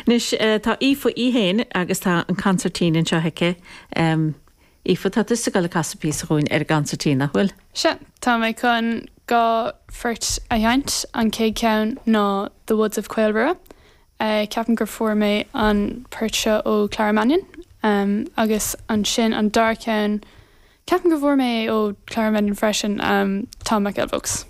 Anois, tá Aoife í féin agus tá an consairtín anseo aici. Aoife, tá tusa ag dul ag casadh píosa dhúinn ar an gconsairtín, nach bhfuil? Sea, tá mé chun 2 phort a sheinnt. An chéad cheann ná The Woods of Caol Rua. Ceapaim gur fuair mé an port seo ó Clara Mannion. Agus ansin an dara ceann, ceapaim go bhfuair mé é ó Clara Mannion freisin, Tom McElvogue's.